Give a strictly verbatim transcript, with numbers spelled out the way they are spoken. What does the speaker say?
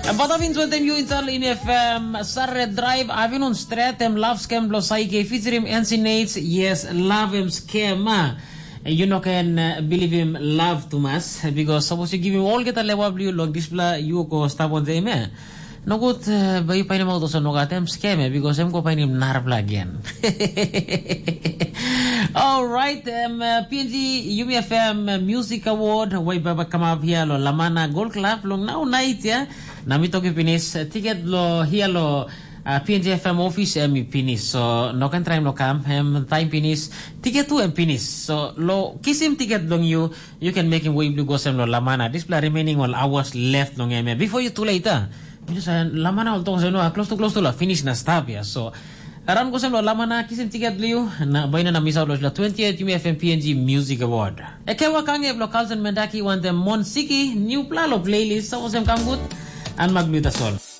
Em batapin wantaim yu insal in F M Sare Drive, avinun stret em love scam blo Saike featuring N C Nates, yes, love em scam. Ah. You no can uh, believe him love too much because suppose you give him all get a lewa blue long dispela you go stop on them, eh? No good, uh, bai you painim out also no gat em scam, eh? Because em go painim narapla again. Alright, um, uh, P N G Yumi F M uh, Music Award, wai baba come up here lo Lamana Gold Club long now night, yeah? Na mi toki pinis, uh, ticket lo here lo uh, P N G F M office em i pinis. So no kan try no kam, em time pinis, ticket tu em pinis. So lo kisim ticket long you, you can make him way blue go sem lo Lamana. This pla remaining all hours left long em. Before you too late, ah. Just uh, Lamana all tong no, close to close to la finish na stop ya. So around go sem lo Lamana, kisim ticket blue, na baina na miss out lo twentieth Yumi F M P N G Music Award. Ekewa kange blo Carlson Mendaki want them Mon Siki, new pla lo playlist, so sem kam good, and Magluta Sol.